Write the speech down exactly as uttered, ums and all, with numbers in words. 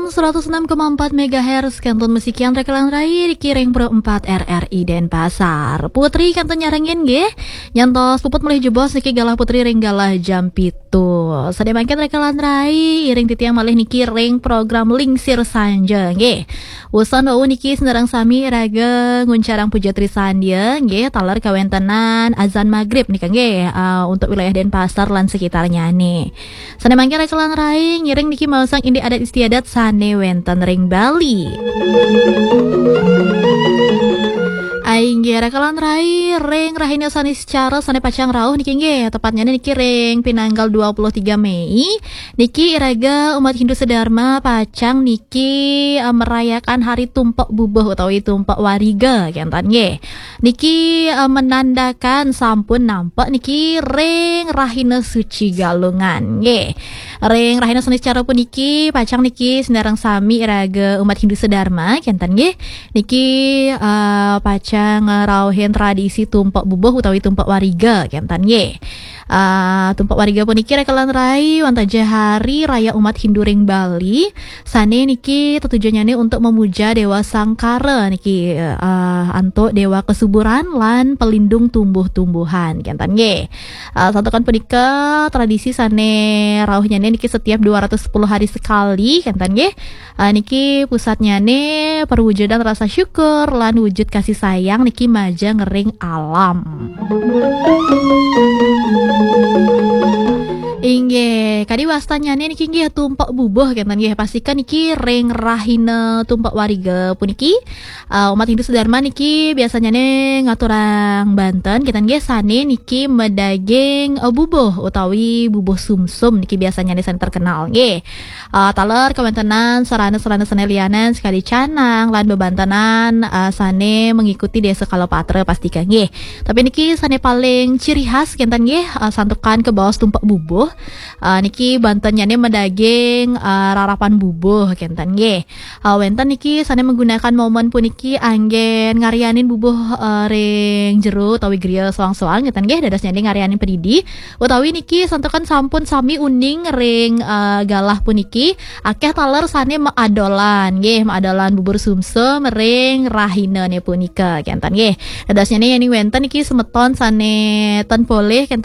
Seratus enam koma empat megahertz, kantun masikian reka lan rai, niki ring Pro empat R R I Denpasar. Putri kantun nyarengin nggih. Nyantos puput malih jebos niki galah Putri ring galah jam pitu. Sané mangkin reka lan rai, iring titiang malih niki ring program Lingsir Sanja nggih. Wusan wau niki sinareng sami iraga nguncarang puja trisandia nggih, taler kawentenan azan magrib nika nggih, ah, untuk wilayah Denpasar lan sekitarnyane. Sané mangkin reka lan rai, ngiring niki maosang indik adat istiadat sané wénten ring Bali. Inggih reka lan rai, ring rahina Saniscara sané pacang rauh niki nggih, tepatnya niki ring pinanggal dua puluh tiga Mei, niki iraga umat Hindu sedharma pacang niki, eh, merayakan hari Tumpek Bubuh utawi Tumpek Wariga kenten nggih. Niki, eh, menandakan sampun nampek niki ring rahina suci Galungan nggih. Ring rahina Saniscara puniki pacang niki sinareng sami iraga umat Hindu sedharma kenten nggih. Niki, eh, pacang ngrauhin tradisi Tumpek Bubuh utawi Tumpek Wariga kenten nggih. Ah, Tumpek Wariga puniki reka lan rai, wantah ja hari raya umat Hindu ring Bali, sané niki tetujonnyane untuk memuja Dewa Sangkara niki, ah, antuk Dewa Kesuburan lan pelindung tumbuh-tumbuhan kenten nggih. Ah, santukan punika tradisi sané rauhnyane niki setiap dua ratus sepuluh hari sekali kenten nggih. Ah, niki pusatnyane perwujudan rasa syukur lan wujud kasih sayang niki majeng ring alam. Inggih, kadi wastanyane niki nggih Tumpek Bubuh kenten nggih. Pastikan niki ring rahina Tumpek Wariga puniki, ah, umat Hindu sedharma niki biasanyane ngaturang banten kenten nggih, sané niki madaging, eh, bubuh utawi bubuh sumsum niki biasanyane sané terkenal nggih. Ah, taler kawentenan sarana-sarana sané lianan sakadi canang lan bebantenan, ah, sané mengikuti Desa Kalapatra pastika nggih. Tapi niki sané paling ciri khas kenten nggih, ah, santukan kabaos Tumpek Bubuh. Ah, niki bantennyane madaging, ah, rarapan bubuh kenten nggih. Ah, wénten niki sané menggunakan momen puniki anggen ngaryanin bubuh, ah, ring jero utawi griya soang-soang kenten nggih, dadosnyane ngaryanin padidi. Utawi niki santukan sampun sami uning ring, eh, galah puniki, akeh taler sané maadolan nggih, maadolan bubur sumsum ring rahinane punika kenten nggih. Dadosnyane yening wénten niki semeton sané ten polih kenten